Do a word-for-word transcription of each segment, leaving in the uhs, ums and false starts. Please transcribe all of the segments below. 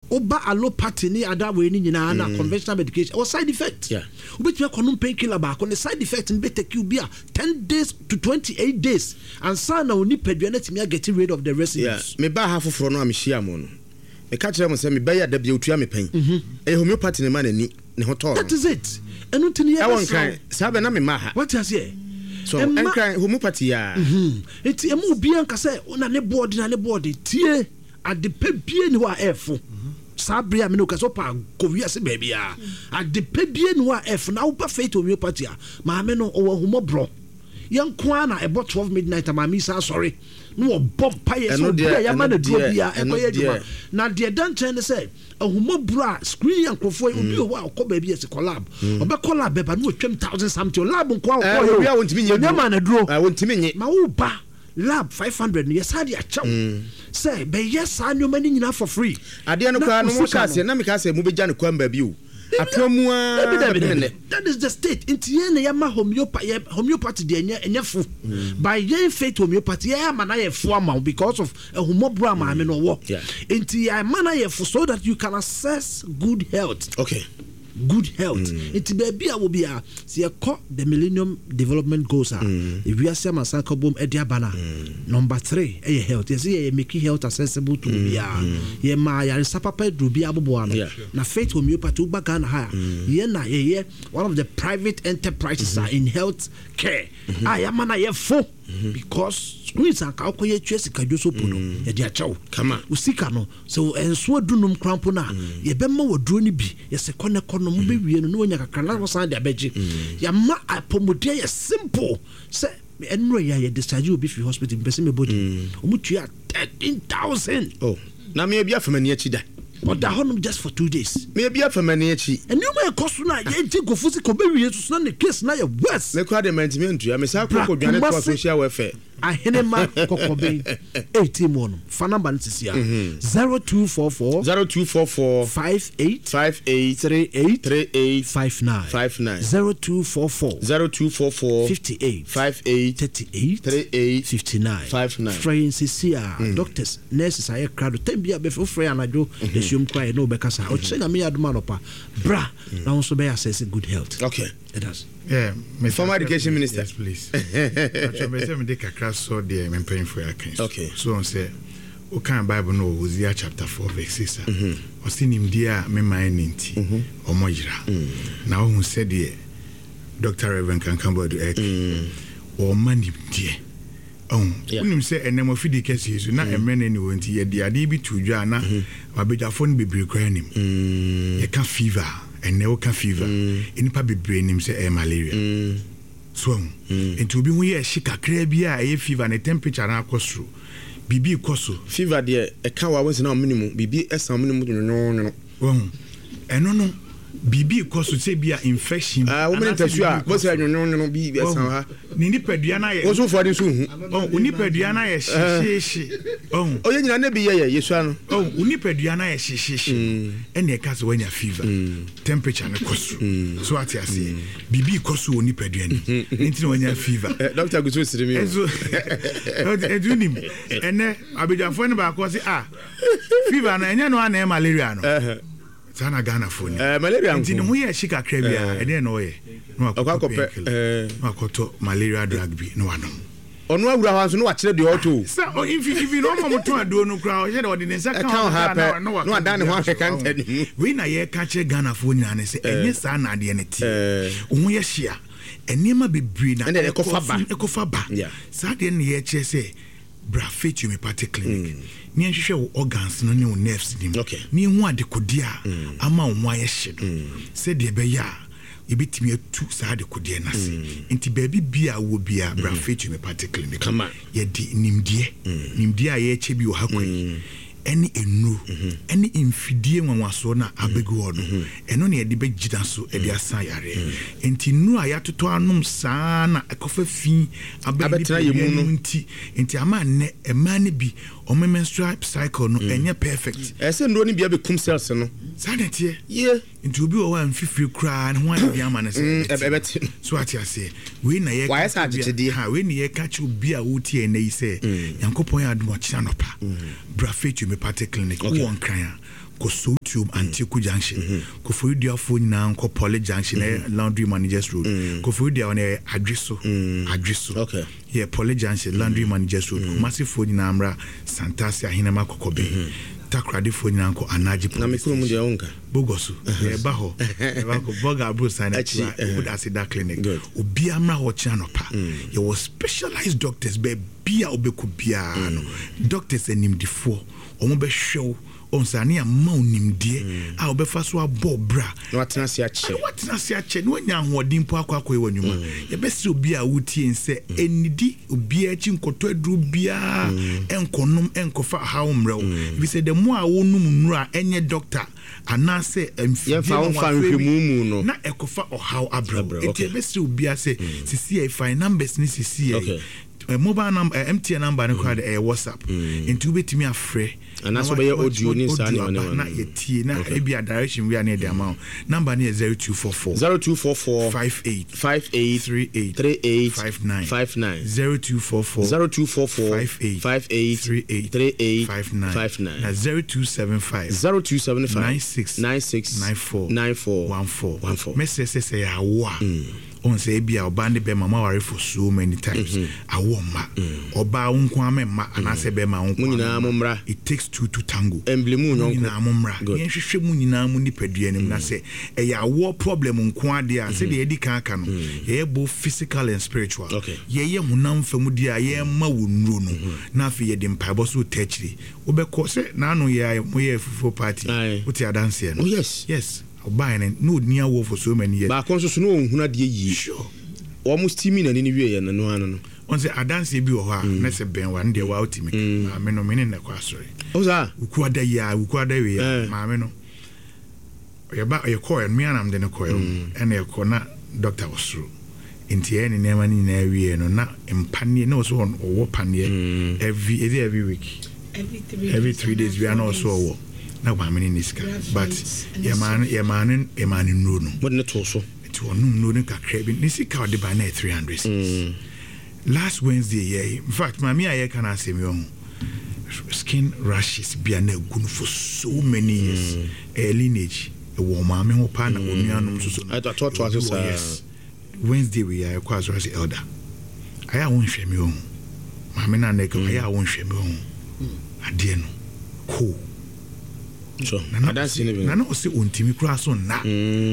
Woba allopathy ne ada wei ne nyinaa na conventional medication ɛwɔ side effect. Yeah. Wobɛtumi akɔnom painkiller baako, ne side effect no bɛtake you bi a ten days to twenty-eight days ansa na wo nipadua no atumi aget rid of the Yeah. residues. Mebaa ha foforɔ no a mehyia mo no, meka kyerɛ mo sɛ mebɛyɛ da bia otua me pɛn. Ɛyɛ homeopathy ne ma n'ani ne ho tɔɔ That no. is it. Ɛno nti ne Ɛwɔ yɛbɛsrɛ Nkran saa bɛ na mema ha. wo, wate aseɛ? So Ɛma- Nkran homeopathy a Mhm. Nti ɛma obiara nka sɛ na ne boɔde na ne boɔde tie ade pɛ bie ni hɔ a ɛɛfo saa bere a mene woka sɛ wopa kɔ wiase baabiaa, ade pɛ bie ni hɔ a ɛɛfo. Na woba Faith Homeopathy a, maame no ɔwɔ ahumɔborɔ. Yɛnko ara na ɛbɔ twelve midnight a, maame yi sa asɔre na wɔbɔ mpayɛ sɛ Ɛno obi a deɛ, yɛama ɛno no duro deɛ, biara ɛno ɛkɔyɛ adwuma. deɛ. Na deɛ ɛda nkyɛn ne sɛ ahumɔborɔ a screen yɛ nkurɔfoɔ yi, obi wɔ hɔ a ɔkɔ baabi yɛ sɛ kɔ lab, ɔbɛkɔ lab bɛba na wɔtwam thousand something lab nko a Eh, ɔkɔ yɛ obi a wɔntumi nyɛ o ɔnyɛ duro. ma no duro. Ah, wɔntumi nye. Ma wo ba lab five hundred no, yɛsa de akyɛw sɛ bɛyɛ saa nneɛma no nyinaa for free. Adeɛ no Na koraa no wo mo sika hyɛ aseɛ na meka sɛ mobɛgya no kwan baabi o, atoa mu a Dabi, dabi, bɛpem dabi. nnɛ. That is the state. Nti yɛn na yɛma homeopathy, yɛ homeopathy deɛ ɛnyɛ ɛnyɛ fo by yɛn Faith Homeopathy, yɛn ama na yɛ fo ama wo because of ɛhumɔborɔ a maame no ɔwɔ. Yeah. Nti yɛn ama na yɛ fo so that you can access good health. Okay good health. Nti baabi a wɔ biara, sɛ yɛkɔ the Millennium Development Goals a ewiase amansan ka bom ɛde aba no a, number three ɛyɛ health. Yɛsɛ yɛyɛ making health accessible to obiara, yɛma ayaresa papa aduru bi aboboa no. Yeah. Na Faith Homeopathy, woba Ghana ha a, yɛn na yɛyɛ one of the private enterprises a in health care a yɛama no yɛ fo because screens anka wokɔyɛ tua sika dwo so po no, yɛde akyɛw. Kama. Wo sika no sɛ ɛnso adunum kora mpo no a, yɛbɛma waduro no bi, yɛsɛ kɔ ne kɔ no mobɛwie no na wanya kakra na wɔsan de abɛgye. Yɛama apɔmuden yɛ simple sɛ ɛnora yɛ a yɛde discharge obi firi hospital, mpɛ sɛ mebɔ din, ɔmu tua thirteen thousand. Oh, na meyɛ bi afa m'ani akyi da. Ɔda hɔnom just for two days. Meyɛ bi afa m'ani akyi. Nneɛma ɛkɔ so no a yɛgye nkɔfo sika, ɔbɛwie so so na ne case na yɛ worse. Me koraa de mantumi antua, mesaa kɔ Bra kɔdwane toa Kumasi. Social welfare. Ahenema Kɔkɔbɛn eighteen mu ɔnom, fa number no sisi a, zero two four four zero two four four five eight five eight three eight three eight five nine. five nine. zero two four four zero two four four fifty-eight five eight thirty-eight three eight fifty-nine. five nine. Frɛ yɛn sisi a, doctors, nurses ayɛ krado tɛm bi a bɛfɛ wofrɛ yɛn anadwo dasuom koraa yɛ ne wobɛkasa. Ɔkyerɛ Nyame yɛ adom anɔpa bra na wo nso bɛyɛ access good health. Okay it does. Yeah, Mister Former education minister. Yes, please. Atwa bɛ sɛ mede kakra sɔ deɛ me mpanyinfoɔ yɛ aka yi so. Okay. So ɔn sɛ wokan Bible no wɔ Hosea chapter four verse six a, ɔse nimdeɛ a meman ne nti ɔmɔ yera. Na wohu sɛdeɛ Doctor Reverend Kankan Boadu ɛka ɔma nimdeɛ ɔhu. Yeah. Wonim sɛ ɛnɛ afidie kɛseɛ so na mmerɛ no ani wɔ nti yɛde adeɛ bi to dwa a na abadwafoɔ no bebree koraa nim. Yɛka fever a, ɛnɛ woka fever, nnipa bebree nim sɛ ɛyɛ malaria so ahu. Nti obi ho yɛ ɛhye kakraa bi a, ɛyɛ fever, ne temperature no akɔ soro, biribi kɔ so. Fever deɛ, ɛka wa wɔnsi na ɔmene mu biribi ɛsan ɔmene mu nwonwonwono. Wahu, ɛno no biribi kɔ so sɛ bi a infection bi Ah, wɔmene anaasɛ ntasuo a biribi kɔ so. bɔsɛ nwonwonwono bi ɛsan ha. Ne nipadua no ayɛ wɔn so fɔ de nso hu. Ɔhu, wo nipadua no ayɛ hyehyehye, ɔhu. Ɔyɛ nyina ne bi yɛ yɛ yɛsua no. Ɔhu, wo nipadua no ayɛ hyehyehye, ɛna ɛka sɛ woanya fever, temperature no kɔ soro so, ate aseɛ? Biribi kɔ so wɔ nipadua no mu nti na woanya fever. Eh, doctor gusu siri mi o. Ɛnso ɛnti wonim ɛnɛ abadwafoɔ no baako sɛ ah, fever no ɛnyɛ no ana ɛyɛ malaria no. Ɛhɛ. Saa na Ghanafoɔ ni. Eh, malaria nti ne nko. ho yɛ hye kakra bi a, ɛdeɛ na ɔyɛ na Ɔkɔ wakɔtɔ akɔpɛ, painkiller eh. na wakɔtɔ malaria drug bi na wanom. Ɔno awura hɔ nso na wakyerɛ deɛ ɔtɔ o. Sɛ ɔ nfi ifi na ɔmo mo tɔn aduro no koraa, ɔhyɛ dɛ ɔde ne nsa Ɛka ka wo ha hɔ pɛ, na na wadan ne ho ahwɛ kanta ne mu. Wei na yɛka kyerɛ Ghanafoɔ nyinaa ne sɛ ɛnyɛ saa na adeɛ no teɛ. Eh. Wo ho yɛ hye a, nneɛma bebree na Ɛnna ɛkɔfa ba. Ɛkɔfa ba. Yeah. Saa deɛ no na yɛkyerɛ sɛ bra Faith Homeopathic Clinic ne yɛnhwehwɛ wo organs no ne wo nerves nim Okay. ne yɛhu adekodeɛ a ama wo ho ayɛ hye no, sɛdeɛ ɛbɛyɛ a yɛbɛtumi atu saa adekodeɛ no ase. Nti baabi bia a wɔ bia, bra Faith Homeopathic Clinic. Kama. Yɛde nimdeɛ nimdeɛ a yɛrekyɛ bi wɔ ha kwan yi ɛne nnuro ɛne mfidie nwanwasoɔ no a abɛgu hɔ no, ɛno na yɛde bɛgyina so ɛde asa yareɛ. Nti nnuro a yɛatotɔ anom saa na ɛkɔfa fi aba Abɛtena yɛ mu nipadua no. no nti nti ama nnɛ mmaa no bi ɔmo menstrual cycle no ɛnyɛ perfect. Ɛsɛ nnuro no bia bɛkum cells no. Saa na ɛteɛ. Yie. Nti obi wɔ hɔ a mfifiri koraa ne ho ayɛ bi ama no sɛ Mm, ɛbɛte. So ate aseɛ? Wei na yɛka Wayɛ sɛ kyerɛ obi a- akyekyedeɛ. Ha, wei na yɛka kyerɛ obi a wotie ɛnɛ yi sɛ Nyankopɔn yɛ adom, ɔkyena nɔpa bra Faith Homeopathic Clinic. Wowɔ Nkran a, kɔ Sowutuom. Sowutuom Antioku Junction. Koforiduafoɔ nyinaa nkɔ Poly Junction, ɛyɛ Laundry Managers Road. Koforidua no ɛyɛ Adweso, Adweso. Okay. Yɛ Poly Junction, Laundry Managers Road. Kumasifoɔ nyinaa mmra Santase Ahenema Kɔkɔbɛn. Takoradefoɔ nyinaa nkɔ Anagye Na me Police kurom Station. Deɛ wonka. Bogoso yɛba hɔ, yɛba kɔ bɔga aburo san Akyi, akyi eh. a Aseda Clinic. Good. Obiara mmra hɔ kyerɛ anɔpa. Yɛwɔ specialized doctors baabi a wobɛkɔ biara no, doctors animdifoɔ ɔmo bɛhwɛ wo ɔnsa ne ama wo nimdeɛ a wobɛfa so abɔ bra Na watena ase akyɛ. Na watena ase akyɛ na wanya ahoɔden mpo akɔ akɔyɛ wɔ nnwuma. Yɛbɛsrɛ obi a wotie n sɛ ɛnnidi obiara akyi nkɔtɔ aduro biara, ɛnkɔnom, ɛnkɔfa haw mmerɛ wo, ɛfiri sɛ the more a wonom nnuro a ɛnyɛ doctor anaasɛ mfidie Yɛmfa ma wo mfa wafrɛ bi, nhwɛmu mu no. Na ɛkɔfa ɔhaw abrɛ wo. Abrɛ wo, Nti okay. yɛbɛsrɛ obiara sɛ sisi yɛ fa numbers ne sisi yɛ Okay. eh, mobile number, eh, M T N number no koraa de ɛyɛ WhatsApp, nti wobɛtumi afrɛ Anaasɛ na wobɛyɛ wa- audio ne saa audio nneɛma aba nneɛma na no. yɛtie na Okay. ebi a direction wi a na yɛde ama wo. Number no yɛ zero two four four zero two four four five eight five eight three eight three eight five nine five nine. zero two four four zero two four four five eight five eight three eight three eight five nine five nine. Na zero two seven five zero two seven five nine six nine six nine four nine four one four. one four. Mɛsrɛ sɛ sɛ yɛ awo a ɔn sɛ ebi a ɔbaa ne bɛrima mo aware for so many times, awo mma, ɔbaa wo nko ama mma anaasɛ bɛrima wo nko Mo ama nyinaa mma. mo mmra. It takes two to tango. Ɛmblemu Mo nyɔnko. nyinaa mo mmra. Good. Yɛnhwehwɛ mu nyinaa mu nipadua no mu na sɛ ɛyɛ awoɔ problem nko adeɛ a, sɛdeɛ yɛdi kan aka no, yɛyɛ both physical and spiritual. Okay. Yɛyɛ honam fam deɛ a yɛma wo nnuro no, na afei yɛde mpaebɔ so wota akyiri wobɛkɔ sɛ naano yɛ a moyɛ fufuo party. Aye. Wote adanseɛ no? Oh, yes. Yes, ɔbaeɛ no na ɔni awoɔ for so many years. Baako nso so na ɔnhunu adeɛ yie. Sure. Wɔn steaming n'ani no wieɛ no no ano no. Ɔn sɛ adanseɛ bi wɔ hɔ a na sɛ bɛn wa no deɛ waa wotumi ka. Maame no mene nnɛ kɔ asɔre. Ɔ saa. Wukuada yi a, wukuada wei a, Eh. maame no yɛba yɛkɔɔ mmea nam de no kɔɛ, ɛna yɛkɔ na doctor wɔ soro, nti ɛyɛ ne nneɛma no nyinaa wie no na mpaneɛ na ɔsɛ ɔwɔ paneɛ every, is it every week? Every three Every days three days anaa bia na four ɔsɛ days. ɔwɔ na maame no ne sika, but Graphite, yɛmaa no yɛmaa no yɛmaa no nnuro no. Mode ne too so. Nti ɔnom nnuro no kakra bi, ne sika a ɔde ba na yɛ three hundred cedis. Last Wednesday yɛ, in fact, maame a yɛka no asɛm yi, ɔho skin rashes bi a na egu no for so many years, ɛyɛ lineage, ɛwɔ maame ho paa na onuanom nso so no. Ɛtɔ- atoatoa so ɛwɔ bi wɔ- saa. Yes, Wednesday wei a yɛkɔ asɔre sɛ elder ayɛ a wonhwɛ me, ɔho maame no a na ɛka ayɛ a wonhwɛ me, ɔho adeɛ no koo. So adanseɛ no bi na na ɔsɛ ɔntumi koraa so nna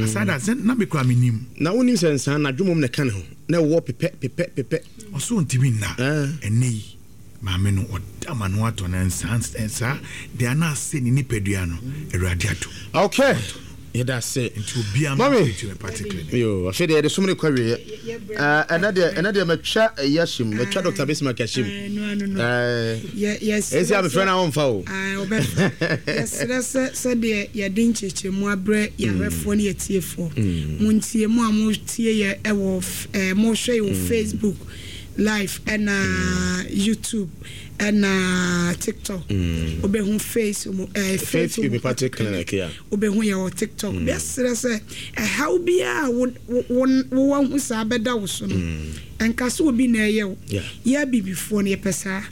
asada sɛ na me koraa menim. Na wonim sɛ nsaa na adwomom na ɛka ne ho na ɛwɔ pepɛ pepɛ pepɛ. Ɔsɛ ɔntumi nna. Ah. Ɛnɛ yi maame no ɔda ma no atɔ no nsaa nsaa deɛ ana asɛ ne nipadua no, Awurade ato. Okay, yɛda ase. Nti obiara Mami. ma Homeopathic Clinic. Yo, afei deɛ yɛde som no kɔ awieɛ. Ɛnɛ deɛ ɛnɛ deɛ matwa ɛyi ahyem, matwa Doctor Bismarck ahyem. Ah, no, ano no. Ɛɛ, Yɛ- yɛsrɛ ɛnsi a mefrɛ sɛ- no a womfa o. Ah, ɔbɛfrɛ. Yɛsrɛ sɛ sɛdeɛ yɛde nkyerɛkyerɛmu abrɛ yɛahwɛfoɔ ne yɛtiefoɔ, montie mu a motie yɛ ɛwɔ f- eh, mohwɛ yɛ wɔ Facebook Live ɛna YouTube ɛna TikTok, wobɛhu face mo eh, Faith Homeopathic Clinic, yeah. Wobɛhu yɛ wɔ TikTok. Bɛserɛ sɛ ɛhaw biaa wo- wo- wo- wowɔ ho saa bɛda wo so no, ɛnka sɛ obi na ɛyɛ wo. Yeah. Yɛ abibifoɔ no yɛpɛ saa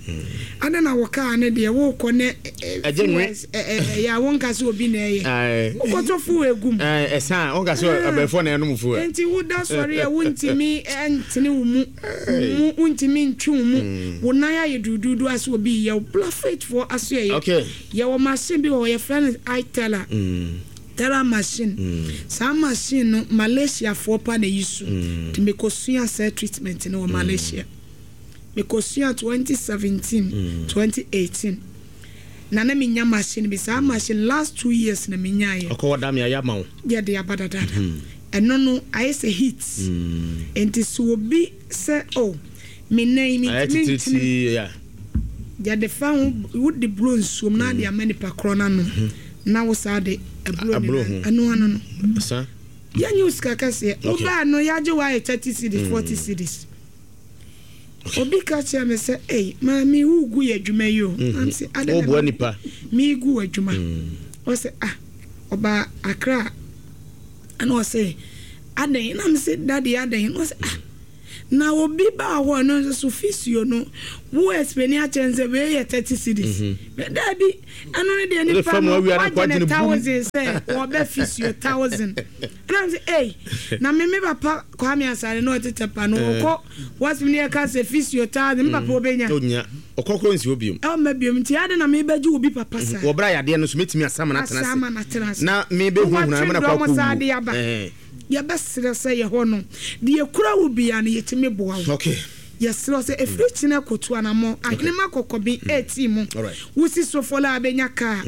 ade na wɔkaa ne deɛ wokɔ ne Ɛgye nwe. ɛyɛ a wonka sɛ obi na ɛyɛ. Aye. Wokɔtɔ fo egu mu. Ɛɛ, ɛsan wonka sɛ abɛɛfoɔ na ɛnom fuo. Nti woda sɔre a wontumi ntene wo mu mu, wontumi ntwe wo mu, wo nan ayɛ duduudu ase obi yɛ wo bla faithfoɔ aso yɛ. Okay. Yɛwɔ machine bi wɔ hɔ yɛfrɛ no iTera Tera machine. Saa machine no Malaysiafoɔ pa na yi so, nti mekɔsua saa treatment no wɔ Malaysia. Mekɔsua twenty seventeen, twenty eighteen na na menya machine bi. Saa machine last two years na menyaeɛ. Ɔkɔwɔ da me ayɛ ama wo. Yɛde aba dadaada. Ɛno no ayɛ sɛ heat, nti sɛ obi sɛ o me nan mi Ayɛ ntumi ntene titiritii ya. Yɛde fa ho, wode buro nsuom na ade ama nipa korɔ no anom na wo saa de aburo Aburo ne ho. ɛno ano no sa yɛnyɛ wo sika kɛseɛ. Okay. Wobaa no yɛagye wo ayɛ thirty cedis, forty cedis. Obi ka kyerɛ me sɛ, ei maame, wogu yɛ adwuma yi o. Nam sɛ adɛn na Woboa megu- nipa. Meegu w'adwuma. Ɔsɛ ah, ɔbaa Akra ɛna ɔsɛ adɛn, nam sɛ dade adɛn, na ɔsɛ ah, Na obi baa hɔ no nso so physio no wo explain akyerɛ no sɛ wei yɛ thirty cedis. Daabi, ɛno no deɛ nipa no wagye ne thousand sɛ wɔbɛ physio thousand. Ɛna m sɛ ei, na me me papa Kwame Asare na ɔte Tɛpa no ɔkɔ wɔsɛm ne yɛka sɛ physio thousand, me papa ɔbɛnya. Ɔnya ɔkɔkɔ nsi hɔ biom. Ɔmma biom, nti ade na mebɛgye obi papa saa. Wɔbrɛ a yadeɛ no so mɛtumi asama no atena ase. Asama no atena ase. Na mebɛhunahuna no ma no akɔ Wɔatwe dɔm saa de akɔwu. aba. Yɛbɛsrɛ sɛ yɛ hɔ no deɛ kura wo bia no yɛtumi boa wo. Okay. Yɛsrɛ sɛ ɛfiri kyena kɔtu anammɔ Ahenema Kɔkɔbe ɛɛtii mu. Alright. Wosi Sofola a bɛnya kaa,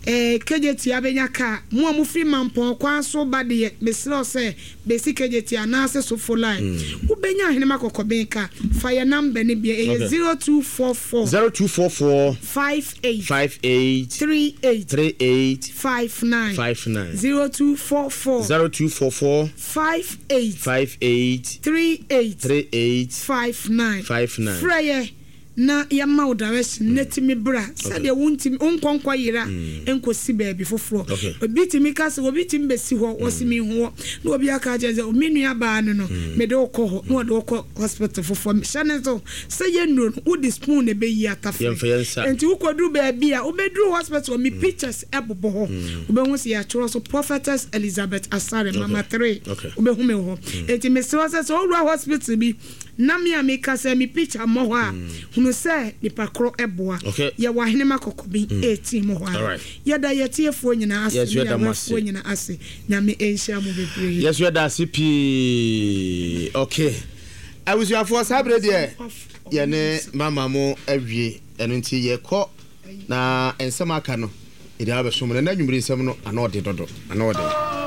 eh, K J T abɛnya kaa. Mo a mofiri Mampɔn kwan so ba deɛ, mesrɛ sɛ bɛsi K J T anaasɛ Sofola, wobɛnya Ahenema Kɔkɔbe kaa. Fa yɛ number no bia, ɛyɛ Okay. zero two four four zero two four four five eight five eight three eight three eight five nine five nine. zero two four four zero two four four five eight five eight three eight three eight five nine. five nine. Frɛ yɛ na yɛma wo direction na tumi bra sɛdeɛ wontumi wonkɔnkɔ yera nkɔsi baabi foforɔ. Okay. Obi tumi ka sɛ obi tumi bɛsi hɔ, wɔsi mi hu hɔ, na obi aka kyerɛ sɛ me nua baa no no mede wo kɔ hɔ, na wɔde wo kɔ hospital foforɔ. Hyɛ ne so sɛ yɛ nnuro no, wode spoon na ɛbɛyi atafere. Yɛmfa yɛn nsa. Nti wokɔduru baabi a wobɛduru hospital, me pictures ɛbobɔ hɔ, wobɛhu sɛ yɛatwerɛ so Prophetess Elizabeth Asare Mama three. Okay. Wobɛhu me wɔ hɔ. Enti mesrɛ sɛ sɛ wowura hospital bi na me a meka sɛ me picture mmɔ hɔ a, hunu sɛ nipa korɔ ɛboa. Okay. Yɛwɔ Ahenema Kɔkɔbi eighteen mu hɔ a. Alright. Yɛda yɛtiefoɔ nyinaa ase. Yes, ne yɛda mo ase. yɛahwɛfoɔ nyinaa ase. Nyame ɛnhyira mo bebree. Yɛso yɛda ase pii. Okay, abusuafoɔ, saa berɛ deɛ yɛne mama mo awie, ɛno nti yɛkɔ na nsɛm aka no yɛde abɛso mu no. Na anwummere nsɛm no ana ɔde dodo ana ɔde.